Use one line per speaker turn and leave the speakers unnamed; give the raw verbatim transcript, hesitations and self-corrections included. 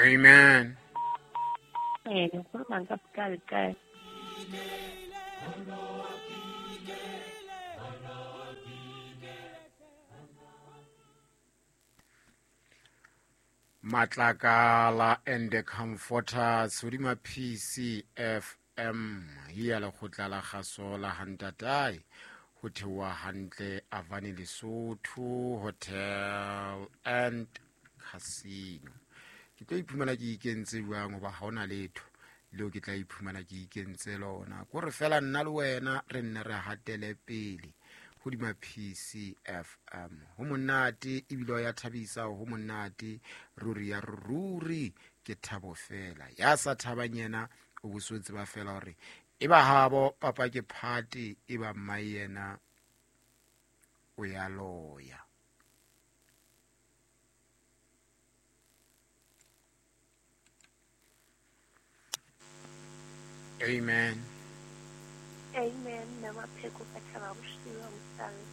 Amen.
Eh, ngikhuluma ngikabuqali kuqala.
Matlakala and the Comforters hodima P C F M ya lekgotla la kgaso la Hantatai ho theoha hantle Avani Lesotho Hotel and Casino. Ke tlo iphumana ke ikentse jwang hoba ha hona letho leo ke tla iphumana ke ikentse lona. Kore fela nna le wena re nne re hatele pele hodima P C F M. Ho monate ebile ya thabisa, ho monate ruri ya ruri ke thabo fela. Ya sa thabang yena o bo tseba fela hore e ba habo papa ke party e ba mma yena o ya loya. Amen.
Amen. Namapheko ka thaba bosiu mosali.